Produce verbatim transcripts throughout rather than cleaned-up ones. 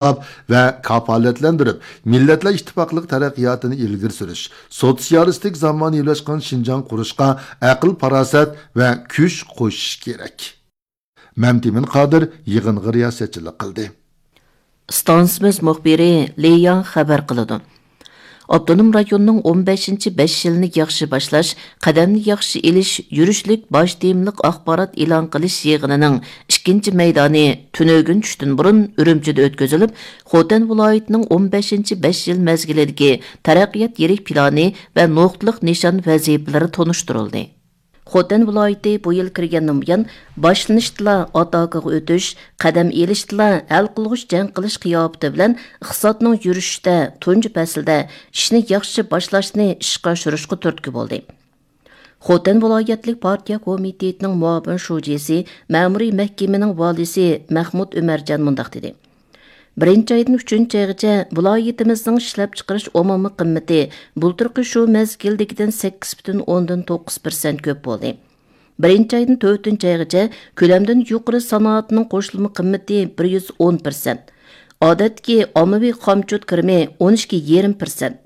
قوللاپ ۋە كاپالەتلەندۈرۈپ، مىللەتلەر ئىتتىپاقلىق تەرەققىياتىنى ئىلگىرى سۈرۈش، سوتسىيالىستىك زامانىۋىلاشقان شىنجاڭ قۇرۇشقا ئەقىل-پاراسەت ۋە كۈچ قوشۇش كېرەك. مەمتىمىن قادىر يىغىنغا رىياسەتچىلىك قىلدى. ئىستانسىمىز مۇخبىرى لى ياڭ خەۋەر قىلىدۇ. ئاپتونوم رايوننىڭ ئون بەشىنچى بەش يىلنى ياخشى باشلاش، قەدەمنى ياخشى ئېلىش يۈرۈشلۈك باش تېمىلىق ئاخبارات ئېلان قىلىش يىغىنىنىڭ ئىككىنچى مەيدانى تۈنۈگۈن چۈشتىن بۇرۇن ئۈرۈمچىدە ئۆتكۈزۈلۈپ، خوتەن ۋىلايىتىنىڭ ئون بەشىنچى بەش يىل مەزگىلىدىكى تەرەققىيات يىرىك پىلانى ۋە نۇقتىلىق نىشان ۋەزىپىلىرى تونۇشتۇرۇلدى. خوتەن ۋىلايىتى بۇ يىل كىرگەندىن بۇيان، باشلىنىشتىلا ئاتاكىغا ئۆتۈش، قەدەم ئېلىشتىلا ھەل قىلغۇچ جەڭ قىلىش قىياپىتى بىلەن ئىقتىسادنىڭ يۈرۈشۈشىدە تۇنجى پەسىلدە ئىشنى ياخشى باشلاشنى ئىشقا ئاشۇرۇشقا تۈرتكە بولدى. خوتەن ۋىلايەتلىك پارتىيە كومىتېتىنىڭ مۇئاۋىن شۇجىسى، مەمۇرىي مەھكىمىنىڭ ۋالىيسى مەخمۇت ئۆمەرجان مۇنداق دېدى. بىرىنچى ئايدىن ئۈچىنچى ئايغىچە ۋىلايىتىمىزنىڭ ئىشلەپچىقىرىش ئومۇمىي قىممىتى بۇلتۇرقى شۇ مەزگىلدىكىدىن سەككىز پۈتۈن ئوندىن توققۇز پىرسەنت كۆپ بولدى. بىرىنچى ئايدىن تۆتىنچى ئايغىچە كۆلەمدىن يۇقىرى سانائەتنىڭ قوشۇلما قىممىتى بىر يۈز ئون پىرسەنت، ئادەتتىكى ئاممىۋى خامچوت كىرىمى ئون ئىككى يېرىم پىرسەنت،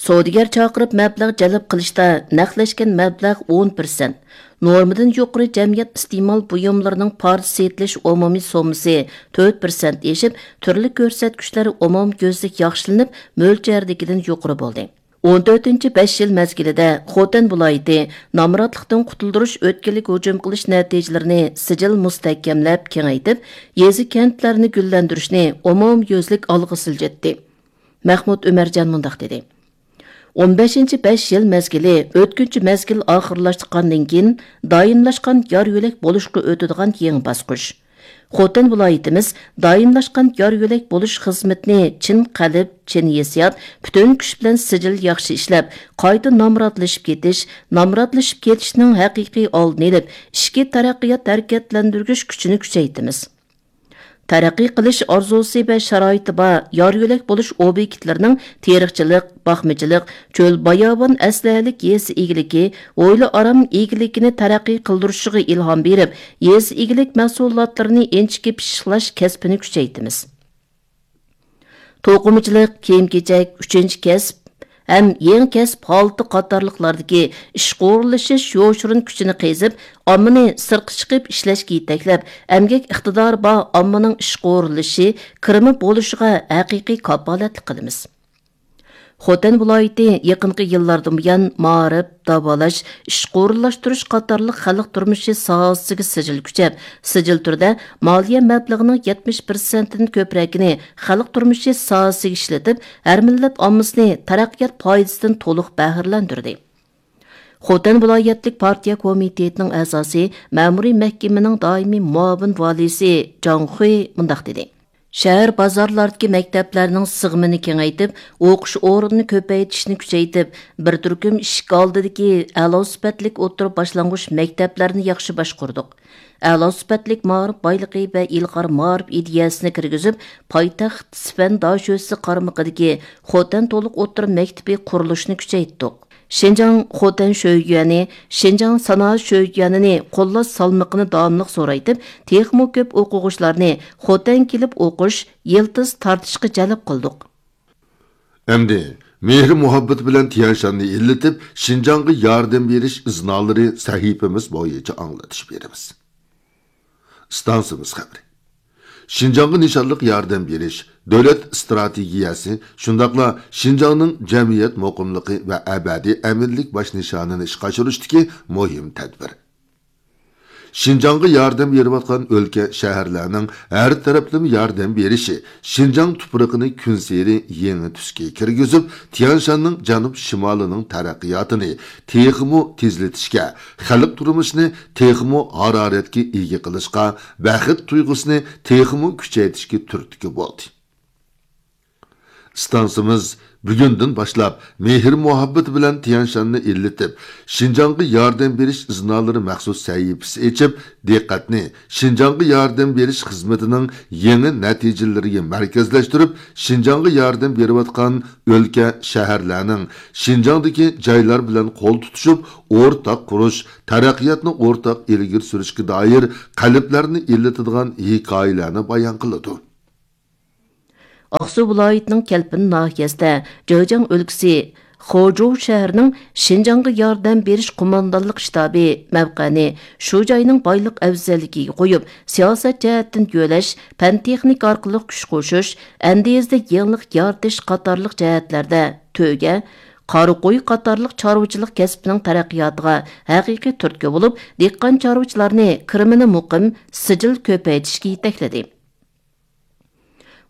سودىگەر چاقىرىپ مەبلەغ جەلپ قىلىشتا نەقلەشكەن مەبلەغ ئون پىرسەنت، نورمىدىن يۇقىرى جەمئىيەت ئىستېمال بۇيۇملىرىنىڭ پارچە سېتىلىش ئومۇمىي سوممىسى تۆت پىرسەنت ئېشىپ، تۈرلۈك كۆرسەتكۈچلەر ئومۇميۈزلۈك ياخشىلىنىپ، مۆلچەردىكىدىن يۇقىرى بولدى. ئون تۆتىنچى بەش يىل مەزگىلىدە خوتەن ۋىلايىتى نامراتلىقتىن قۇتۇلدۇرۇش ئۆتكىلىگە ھۇجۇم قىلىش نەتىجىلىرىنى سىجىل مۇستەھكەملەپ كېڭەيتىپ، يېزا، كەنتلەرنى گۈللەندۈرۈشنى ئومۇميۈزلۈك ئالغا سىلجىتتى. مەخمۇت ئۆمەرجان مۇنداق دېدى. ئون بەشىنچى بەش يىل مەزگىلى ئۆتكۈنچى مەزگىل ئاخىرلاشقاندىن كېيىن، دائىملاشقان يار يۆلەك بولۇشقا ئۆتىدىغان يېڭى باسقۇچ. خوتەن ۋىلايىتىمىز دائىملاشقان يار يۆلەك بولۇش خىزمىتىنى چىن قەلب، چىن ھېسسىيات، پۈتۈن كۈچ بىلەن سىجىل ياخشى ئىشلەپ، قايتا نامراتلىشىپ كېتىش، نامراتلىشىپ كېتىشنىڭ ھەقىقىي ئالدىنى ئېلىپ، ئىچكى تەرەققىيات ھەرىكەتلەندۈرگۈچ كۈچىنى كۈچەيتىمىز. تەرەققىي قىلىش ئارزۇسى ۋە شارائىتى بار يار يۆلەك بولۇش ئوبيېكتلىرىنىڭ تېرىقچىلىق، باقمىچىلىق، چۆل باياۋان ئەسلىھەلىك يېزا ئىگىلىكى، ھويلا ئارام ئىگىلىكىنى تەرەققىي قىلدۇرۇشىغا ئىلھام بېرىپ، يېزا ئىگىلىك مەھسۇلاتلىرىنى ئىنچىكە پىششىقلاش كەسپىنى كۈچەيتىمىز. توقۇمىچىلىق، كىيىم-كېچەك، ئۈچىنچى كەسىپ، ھەم يېڭى كەسىپ ھالىتى قاتارلىقلاردىكى ئىشقا ئورۇنلىشىش يوشۇرۇن كۈچىنى قېزىپ، ئاممىنى سىرتقا چىقىپ ئىشلەشكە يېتەكلەپ، ئەمگەك ئىقتىدارى بار ئاممىنىڭ ئىشقا ئورۇنلىشىشى، كىرىمى بولۇشىغا ھەقىقىي كاپالەتلىك قىلىمىز. خوتەن ۋىلايىتى يېقىنقى يىللاردىن بۇيان، مائارىپ، داۋالاش، ئىشقا ئورۇنلاشتۇرۇش قاتارلىق خەلق تۇرمۇشى ساھەسىگە سىجىل كۈچەپ، سىجىل تۈردە مالىيە مەبلىغىنىڭ يەتمىش پىرسەنتتىن كۆپرەكىنى خەلق تۇرمۇشى ساھەسىگە ئىشلىتىپ، ھەر مىللەت ئاممىسىنى تەرەققىيات پايدىسىدىن تولۇق بەھرىلەندۈردى. خوتەن ۋىلايەتلىك پارتىيە كومىتېتىنىڭ ئەزاسى، مەمۇرىي مەھكىمىنىڭ دائىمىي مۇئاۋىن ۋالىيسى جاڭ خۇي مۇنداق دېدى. شەھەر، بازارلاردىكى مەكتەپلەرنىڭ سىغىمىنى كېڭەيتىپ، ئوقۇش ئورنىنى كۆپەيتىشنى كۈچەيتىپ، بىر تۈركۈم ئىشىك ئالدىدىكى ئەلا سۈپەتلىك ئوتتۇرا باشلانغۇچ مەكتەپلەرنى ياخشى باشقۇردۇق. ئەلا سۈپەتلىك مائارىپ بايلىقى ۋە ئىلغار مائارىپ ئىدىيەسىنى كىرگۈزۈپ، پايتەخت سىفەن داشۆسى قارمىقىدىكى خوتەن تولۇق ئوتتۇرا مەكتىپى قۇرۇلۇشىنى كۈچەيتتۇق. شىنجاڭ خوتەن شۆيۈەنى، شىنجاڭ سانائەت شۆيۈەنىنى قوللاش سالمىقىنى داۋاملىق زورايتىپ، تېخىمۇ كۆپ ئوقۇغۇچىلارنى خوتەن كېلىپ ئوقۇش، يىلتىز تارتىشقا جەلپ قىلدۇق. ئەمدى مېھرى مۇھەببىتى بىلەن تيەنشاننى ئىللىتىپ، شىنجاڭغا ياردەم بېرىش ئىزنالىرى سەھىپىمىز بويىچە ئاڭلىتىش بېرىمىز. ئىستانسىمىز خەۋىرى. شىنجاڭغا نىشانلىق ياردەم بېرىش دۆلەت ئىستراتېگىيەسى، شۇنداقلا شىنجاڭنىڭ جەمئىيەت مۇقىملىقى ۋە ئەبەدىي ئەمىنلىك باش نىشانىنى ئىشقا ئاشۇرۇشتىكى مۇھىم تەدبىر. شىنجاڭغا ياردەم بېرىۋاتقان ئۆلكە، شەھەرلەرنىڭ ھەر تەرەپلىمە ياردەم بېرىشى شىنجاڭ تۇپرىقىنى كۈنسېرى يېڭى تۈسكە كىرگۈزۈپ، تيەنشاننىڭ جەنۇب شىمالىنىڭ تەرەققىياتىنى تېخىمۇ تېزلىتىشكە، خەلق تۇرمۇشىنى تېخىمۇ ھارارەتكە ئىگە قىلىشقا، بەخت تۇيغۇسىنى تېخىمۇ كۈچەيتىشكە تۈرتكە بولدى. ئىستانسىمىز بۈگۈندىن باشلاپ مېھىر-مۇھەببىتى بىلەن تيەنشاننى ئىللىتىپ، شىنجاڭغا ياردەم بېرىش ئىزنالىرى مەخسۇس سەھىپىسى ئېچىپ، دىققەتنى شىنجاڭغا ياردەم بېرىش خىزمىتىنىڭ يېڭى نەتىجىلىرىگە مەركەزلەشتۈرۈپ، شىنجاڭغا ياردەم بېرىۋاتقان ئۆلكە، شەھەرلەرنىڭ شىنجاڭدىكى جايلار بىلەن قول تۇتۇشۇپ، ئورتاق قۇرۇش، تەرەققىياتنى ئورتاق ئىلگىرى سۈرۈشكە دائىر قەلبلەرنى ئىللىتىدىغان ھېكايىلەرنى بايان قىلىدۇ. ئاقسۇ ۋىلايىتىنىڭ كەلپىن ناھىيەسىدە جېجياڭ ئۆلكىسى خۇجۇ شەھىرىنىڭ شىنجاڭغا ياردەم بېرىش قوماندانلىق شتابى مەۋقەنى شۇ جاينىڭ بايلىق ئەۋزەللىكىگە قويۇپ، سىياسەت جەھەتتىن يۆلەش، پەن-تېخنىكا ئارقىلىق كۈچ قوشۇش، ئەندىزىدە يېڭىلىق يارىتىش قاتارلىق جەھەتلەردە تۆگە، قارا قوي قاتارلىق چارۋىچىلىق كەسپىنىڭ تەرەققىياتىغا ھەقىقىي تۈرتكە بولۇپ، دېھقان چارۋىچىلارنى كىرىمىنى مۇقىم، سىجىل كۆپەيتىشكە يېتەكلىدى.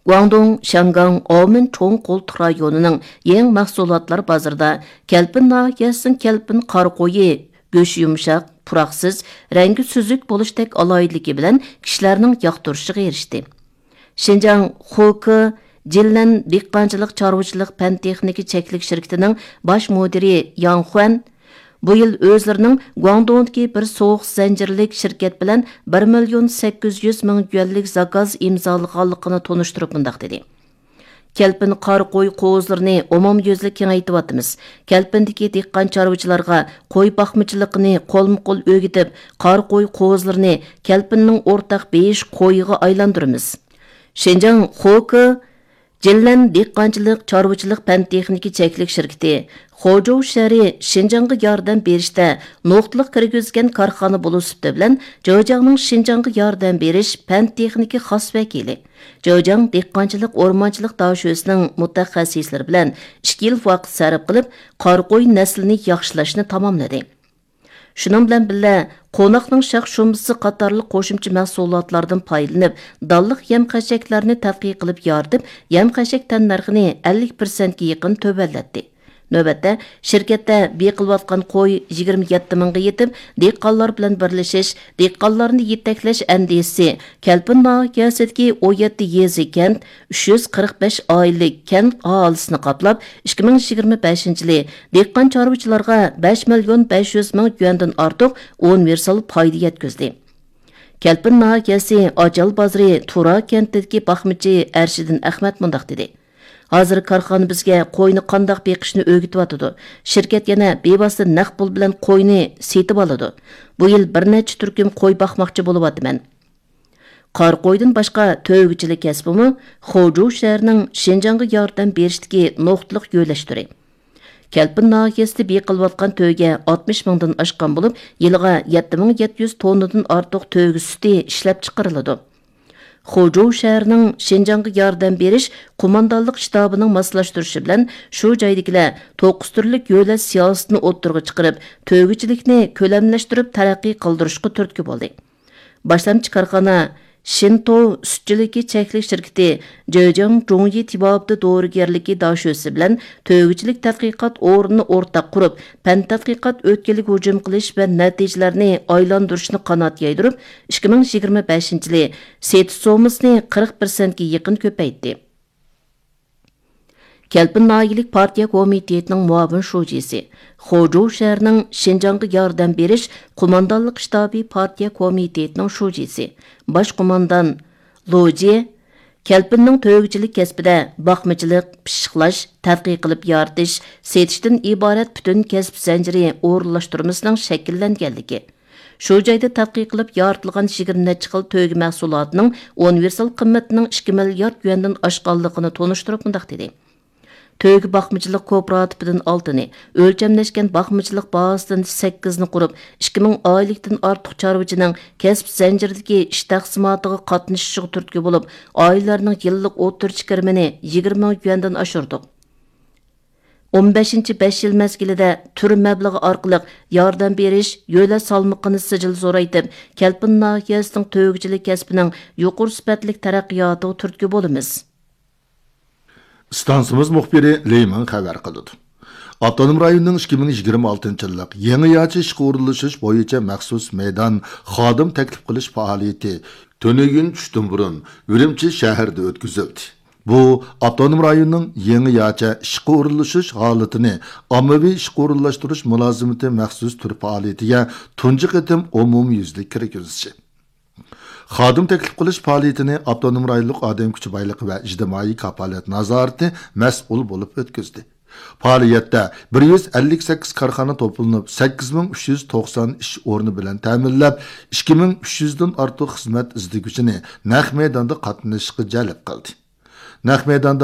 گۇاڭدۇڭ، شياڭگاڭ، ئاۋمېن چوڭ قولتۇق رايونىنىڭ يېڭى مەھسۇلاتلار بازىرىدا كەلپىن ناھىيەسىنىڭ كەلپىن قارا قويى، گۆشى يۇمشاق، پۇراقسىز، رەڭگى سۈزۈك بولۇشتەك ئالاھىدىلىكى بىلەن كىشىلەرنىڭ ياقتۇرۇشىغا ئېرىشتى. شىنجاڭ خوكې جىنلەن دېھقانچىلىق چارۋىچىلىق پەن تېخنىكا چەكلىك شىركىتىنىڭ باش مۇدىرى ياڭ خۇەن بۇ يىل ئۆزلىرىنىڭ گۇاڭدۇڭدىكى بىر سوغۇق زەنجىرلىك شىركەت بىلەن بىر مىليون سەككىز يۈز مىڭ يۈەنلىك زاكاز ئىمزالىغانلىقىنى تونۇشتۇرۇپ مۇنداق دېدى: كەلپىن قارا قوي قوزىلىرىنى ئومۇميۈزلۈك كېڭەيتىۋاتىمىز. كەلپىندىكى دېھقان چارۋىچىلارغا قوي باقمىچىلىقىنى قولمۇ قول ئۆگىتىپ، قارا قوي قوزىلىرىنى كەلپىننىڭ ئورتاق بېيىش قويىغا ئايلاندۇرىمىز. شىنجاڭ خوكې جىنلەن دېھقانچىلىق چارۋىچىلىق پەن تېخنىكا چەكلىك شىركىتى خۇجۇ شەھىرى شىنجاڭغا ياردەم بېرىشتە نۇقتىلىق كىرگۈزگەن كارخانا بولۇش سۈپىتى بىلەن، جېجياڭنىڭ شىنجاڭغا ياردەم بېرىش پەن تېخنىكا خاس ۋەكىلى، جېجياڭ دېھقانچىلىق ئورمانچىلىق داشۆسىنىڭ مۇتەخەسسىسلىرى بىلەن ئىككى يىل ۋاقىت سەرپ قىلىپ، قارا قوي نەسلىنى ياخشىلاشنى تاماملىدى. شۇنىڭ بىلەن بىللە، قوناقنىڭ شاخ شۇمبىسى قاتارلىق قوشۇمچە مەھسۇلاتلاردىن پايدىلىنىپ، دانلىق يەم خەشەكلەرنى تەتقىق قىلىپ يارىتىپ، يەم خەشەك تەننەرخىنى ئەللىك پىرسەنتكە يېقىن تۆۋەنلەتتى. نۆۋەتتە، شىركەتتە بېقىلىۋاتقان قوي يىگىرمە يەتتە مىڭغا يېتىپ، دېھقانلار بىلەن بىرلىشىش، دېھقانلارنى يېتەكلەش ئەندىزىسى كەلپىن ناھىيەسىدىكى ئون يەتتە يېزا، كەنت، ئۈچ يۈز قىرىق بەش ئائىلىلىك كەنت ئاھالىسىنى قاپلاپ، ئىككى مىڭ يىگىرمە بەشىنچى يىلى دېھقان چارۋىچىلارغا بەش مىليون بەش يۈز مىڭ يۈەندىن ئارتۇق ئۇنىۋېرسال پايدا يەتكۈزدى. كەلپىن ناھىيەسى ئاچال بازىرى تۇرا كەنتىدىكى باقمىچى ئەرشىدىن ئەخمەت مۇنداق دېدى: ھازىر كارخانا بىزگە قوينى قانداق بېقىشنى ئۆگىتىۋاتىدۇ. شىركەت يەنە بىۋاسىتە نەق پۇل بىلەن قوينى سېتىۋالىدۇ. بۇ يىل بىر نەچچە تۈركۈم قوي باقماقچى بولۇۋاتىمەن. قارا قويدىن باشقا تۆگىچىلىك كەسپىمۇ خۇجۇ شەھىرىنىڭ شىنجاڭغا ياردەم بېرىشتىكى نۇقتىلىق يۆلەش تۈرى. كەلپىن ناھىيەسىدە بېقىلىۋاتقان تۆگە ئاتمىش مىڭدىن ئاشقان بولۇپ، يىلىغا يەتتە مىڭ يەتتە يۈز توننىدىن ئارتۇق تۆگە سۈتى ئىشلەپچىقىرىلىدۇ. خۇجۇ شەھىرىنىڭ شىنجاڭغا ياردەم بېرىش قوماندانلىق شتابىنىڭ ماسلاشتۇرۇشى بىلەن، شۇ جايدىكىلەر توققۇز تۈرلۈك يۆلەش سىياسىتىنى ئوتتۇرىغا چىقىرىپ، تۆگىچىلىكنى كۆلەملەشتۈرۈپ تەرەققىي قىلدۇرۇشقا تۈرتكە بولدى. باشلامچى كارخانا شىنتو سۈتچىلىكى چەكلىك شىركىتى جېجياڭ جۇڭيى تېبابىتى دورىگەرلىكى داشۆسى بىلەن تۆگىچىلىك تەتقىقات ئورنىنى ئورتاق قۇرۇپ، پەن تەتقىقات ئۆتكىلىگە ھۇجۇم قىلىش ۋە نەتىجىلەرنى ئايلاندۇرۇشنى قانات يايدۇرۇپ، ئىككى مىڭ يىگىرمە بەشىنچى يىلى سېتىش سوممىسىنى قىرىق پىرسەنتكە يېقىن كۆپەيتتى. كەلپىن ناھىيەلىك پارتىيە كومىتېتىنىڭ مۇئاۋىن شۇجىسى، خۇجۇ شەھىرىنىڭ شىنجاڭغا ياردەم بېرىش قوماندانلىق شتابى پارتىيە كومىتېتىنىڭ شۇجىسى، باش قوماندان لۇجى كەلپىننىڭ تۆگىچىلىك كەسپىدە باقمىچىلىق، پىششىقلاش، تەتقىق قىلىپ يارىتىش، سېتىشتىن ئىبارەت پۈتۈن كەسىپ زەنجىرى ئورۇنلاشتۇرمىسىنىڭ شەكىللەنگەنلىكى، شۇ جايدا تەتقىق قىلىپ يارىتىلغان يىگىرمە نەچچە خىل تۆگە مەھسۇلاتىنىڭ ئۇنىۋېرسال قىممىتىنىڭ ئىككى مىليارد يۈەندىن ئاشقانلىقىنى تونۇشتۇرۇپ مۇنداق دېدى: تۆگە باقمىچىلىق كوپىراتىپىدىن ئالتىنى، ئۆلچەملەشكەن باقمىچىلىق بازىسىدىن سەككىزنى قۇرۇپ، ئىككى مىڭ ئائىلىلىكتىن ئارتۇق چارۋىچىنىڭ كەسىپ زەنجىرىدىكى ئىش تەقسىماتىغا قاتنىشىشىغا تۈرتكە بولۇپ، ئائىلىلەرنىڭ يىللىق ئوتتۇرىچە كىرىمىنى يىگىرمە مىڭ يۈەندىن ئاشۇردۇق. ئون بەشىنچى بەش يىل مەزگىلىدە تۈر مەبلىغى ئارقىلىق ياردەم بېرىش، يۆلەش سالمىقىنى سىجىل زورايتىپ، كەلپىن ناھىيەسىنىڭ تۆگىچىلىك كەسپىنىڭ يۇقىرى سۈپەتلىك تەرەققىياتىغا تۈرتكە بولىمىز. ئىستانسىمىز مۇخبىرى لېي مىڭ خەۋەر قىلىدۇ. ئاپتونوم رايوننىڭ ئىككى مىڭ يىگىرمە ئالتىنچى يىللىق يېڭىچە ئىشقا ئورۇنلىشىش بويىچە مەخسۇس مەيدان خادىم تەكلىپ قىلىش پائالىيىتى تۈنۈگۈن چۈشتىن بۇرۇن ئۈرۈمچى شەھىرىدە ئۆتكۈزۈلدى. بۇ، ئاپتونوم رايوننىڭ يېڭىچە ئىشقا ئورۇنلىشىش ھالىتىنى ئاممىۋى ئىشقا ئورۇنلاشتۇرۇش مۇلازىمىتى مەخسۇس تۈر پائالىيىتىگە تۇنجى قېتىم ئومۇميۈزلۈك كىرگۈزۈشى. خادىم تەكلىپ قىلىش پائالىيىتىنى ئاپتونوم رايونلۇق ئادەم كۈچى بايلىقى ۋە ئىجتىمائىي كاپالەت نازارىتى مەسئۇل بولۇپ ئۆتكۈزدى. پائالىيەتتە بىر يۈز ئەللىك سەككىز كارخانا توپلىنىپ، سەككىز مىڭ ئۈچ يۈز توقسان ئىش ئورنى بىلەن تەمىنلەپ، ئىككى مىڭ ئۈچ يۈزدىن ئارتۇق خىزمەت ئىزدىگۈچىنى نەق مەيداندا قاتنىشىشقا جەلپ قىلدى. نەق مەيداندا